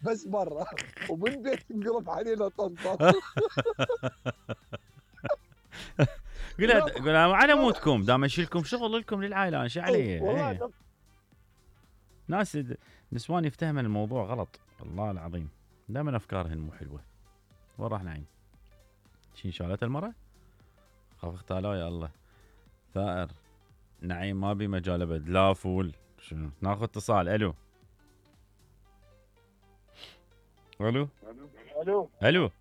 بس برا، ومن بيت انقلب علينا طنطا. قولها على مودكم، دام اشيلكم شغل لكم للعائله، انا شو علي؟ والله ناس نسوان يفتهمن الموضوع غلط، والله العظيم دائما افكارهن مو حلوه. وين راح نعيم؟ شين شالت المره؟ خاف اختالوا يا الله. ثائر نعيم ما بي مجال ابد، لا فول. شنو ناخذ اتصال؟ الو الو الو الو.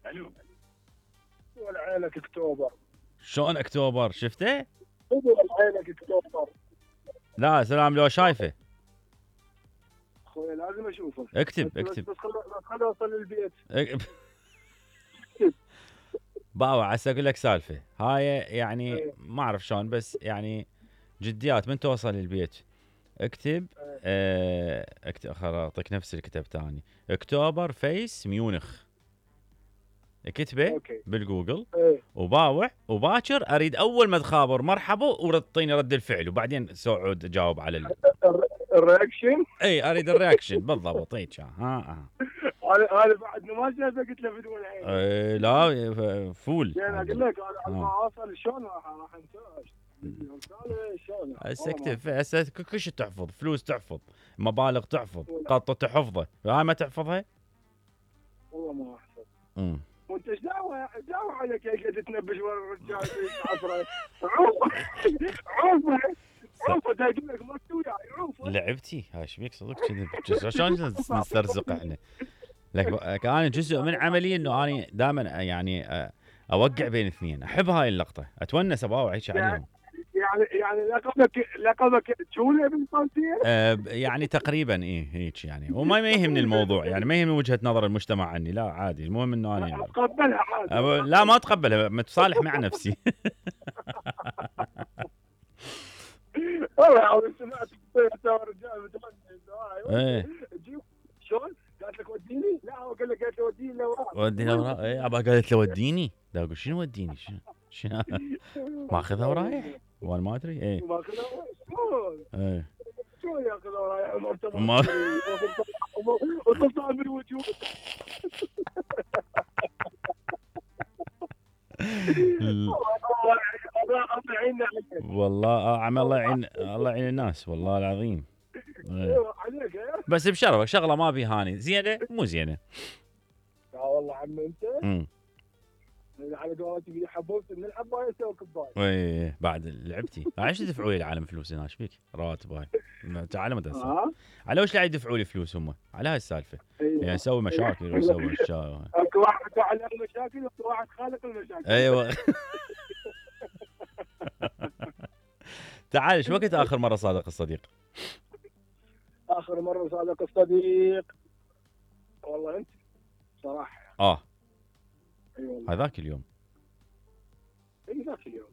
والعيلك اكتوبر. شلون اكتوبر؟ شفته؟ والعيلك اكتوبر. لا سلام، لو شايفه اخوي لازم اشوفه. اكتب بس خليني اوصل للبيت. باوع هسه اقول لك سالفه هاي، يعني ما اعرف شلون، بس يعني جديات من توصل للبيت اكتب. اكتب، اعطيك نفس الكتاب ثاني. اكتوبر فيس ميونخ، اكتبه بالجوجل. وباوع وباكر اريد اول ما تخابر مرحبا وتعطيني رد الفعل، وبعدين سعود جاوب على الرياكشن. اي اريد الرياكشن بالضبط. هيك ها انا بعد ما شايفه قلت له بدون عين. لا فول. يعني اقول لك انا ما اوصل شلون راح انتاج. هسه اكتب، هسه كل شيء تحفظ، فلوس تحفظ، مبالغ تحفظ، قطه تحفظها، هاي ما تحفظها؟ والله ما احفظ. وانت ايش دعوه عليك يا قاعد تنبش ورا الرجال عفره. عوفه تقول لك ما تسوي عوفه. لعبتي هاي ايش بيك صدق كذي؟ شلون نسترزق احنا؟ لك انا جزء من عملي انه انا دائما يعني اوقع بين اثنين، احب هاي اللقطه، اتونس اباوع هيك عليهم. يعني لقبك تشولي بالفرنسيه؟ يعني تقريبا هيك يعني، وما يهمني الموضوع، يعني ما يهمني وجهه نظر المجتمع عني، لا عادي، المهم انه انا اتقبلها عادي. لا ما اتقبلها، متصالح مع نفسي. والله العظيم سمعت رجال ايه شلون؟ قالت لك وديني؟ لا هو قال لك قالت له وديني لوراء. وديني لوراء. اي ابا قالت له وديني، لا اقول شنو وديني؟ شنو ماخذها ورايح وانا ما ادري. ايه ماخذها شلون؟ ايه شلون ياخذها ورايح؟ ما وتطلع من وجهه. الله يعيننا عليك. والله عم الله يعين، الله يعين الناس والله العظيم. عليك بس بشرفك شغله ما بي هاني زينه مو زينه. لا والله عم انت على قولتك حبوبت من الحبايه يسوي كبايه. ايه بعد لعبتي عايش تدفعوا لي العالم فلوس هنا، ايش بيك؟ رواتب هاي تعال مدرسه. على وش قاعد يدفعوا لي فلوس هم؟ على هاي السالفه. يعني نسوي مشاكل ونسوي اشياء. اكو واحد فعل المشاكل واكو واحد خالق المشاكل. ايوه. تعال، شو وقت اخر مره صادق الصديق؟ اخر مره صادق الصديق والله انت صراحه هذاك اليوم. ذاك اليوم